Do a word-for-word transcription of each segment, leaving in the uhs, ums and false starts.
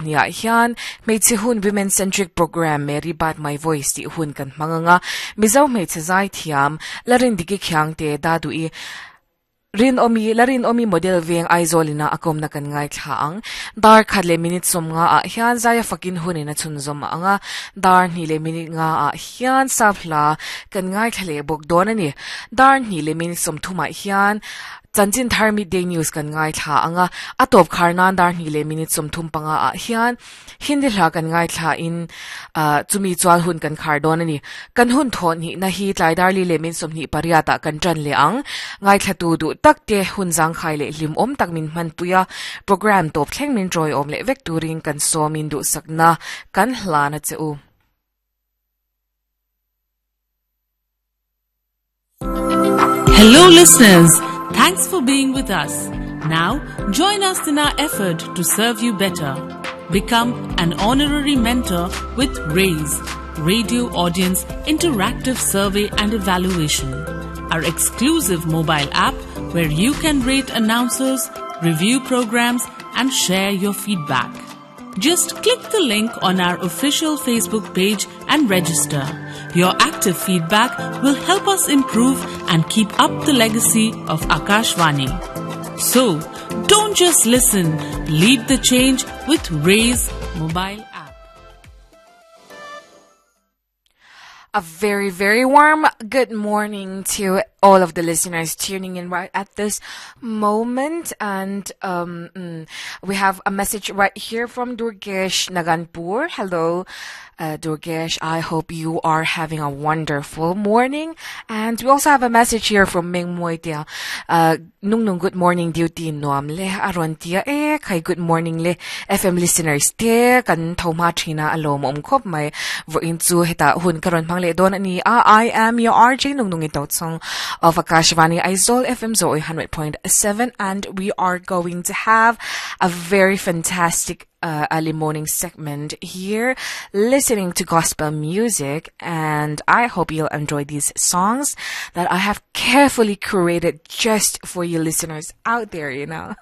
Nia hian hmeichhe hun women centric program Mary Bat My Voice ti hun kan hmanganga Mizo hmeichhe zai thiam larin diki khiang te da du i rin omi larin omi model veng Aizawlina akom na kan ngai thla ang dar khat le minute som nga a hian zaya fakin hunin a chun zom anga dar ni le minute nga a hian safla kan ngai thlale bok don ani dar ni le minute som thuma hian chanchin thar midday news kan ngai thla anga atop kharnan dar ni le minute som thum panga a hian hindi hla kan ngai thla in chumi chwal hun kan khar don ani kan hun thon hi na hi tlai dar li le min som ni pariata kan tran le ang ngai thla tu du tak te hun jang khai le lim om tak min man puya program top thleng min troi om le vek turin kan somin du sakna kan hlana cheu. Hello listeners, thanks for being with us. Now join us in our effort to serve you better. Become an honorary mentor with RAISE, Radio Audience Interactive Survey and Evaluation, our exclusive mobile app where you can rate announcers, review programs and share your feedback. Just click the link on our official Facebook page and register. Your active feedback will help us improve and keep up the legacy of Akashvani. So, don't just listen, lead the change with RAISE mobile app. A very, very warm good morning to all of the listeners tuning in right at this moment. And um, mm, we have a message right here from Durgesh Naganpur. Hello, uh, Durgesh. I hope you are having a wonderful morning. And we also have a message here from Ming Moitia. Uh, nung nung good morning duty noam le aron tia e kai good morning le F M listeners te kan thoma thina alom om khop mai vo in chu heta hun karon phang le don ani a I am your R J nung nung ito song of Akashvani Aizawl F M Zoe one hundred point seven, and we are going to have a very fantastic Uh, early morning segment here, listening to gospel music, and I hope you'll enjoy these songs that I have carefully curated just for you listeners out there, you know.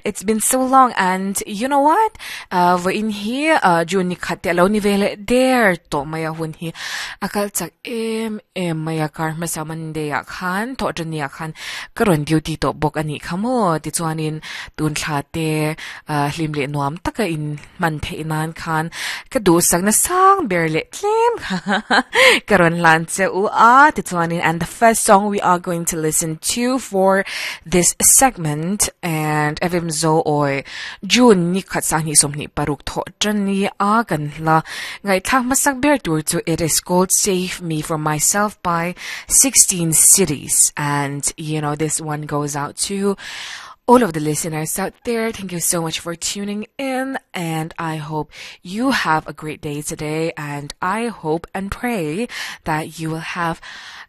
It's been so long, and you know what? Uh, we're in here, uh, June ni khat te alo ni vele der to maya hun hi akal chak em em maya kar masa Monday a khan to jun ni a khan karon duty to bok ani khamo ti chuanin tun thla te uh, hlim le nuam taka in man the inan khan ka du sak na sang berle tlem karon lan che u a ti chuanin. And the first song we are going to listen to for this segment, and F M Zo oi June ni khat sang ni som ni paruk tho chan ni a kan la ngai thak masak ber tur chu it is called Save Me From Myself by sixteen Cities, and you know this one goes out to all of the listeners out there. Thank you so much for tuning in, and I hope you have a great day today, and I hope and pray that you will have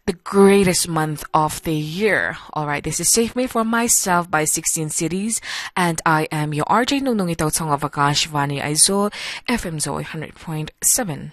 the greatest month of the year. All right, this is Save Me From Myself by sixteen Cities, and I am your R J Nung Nung Ito Tong of Akashvani Aizawl F M Zoe one hundred point seven.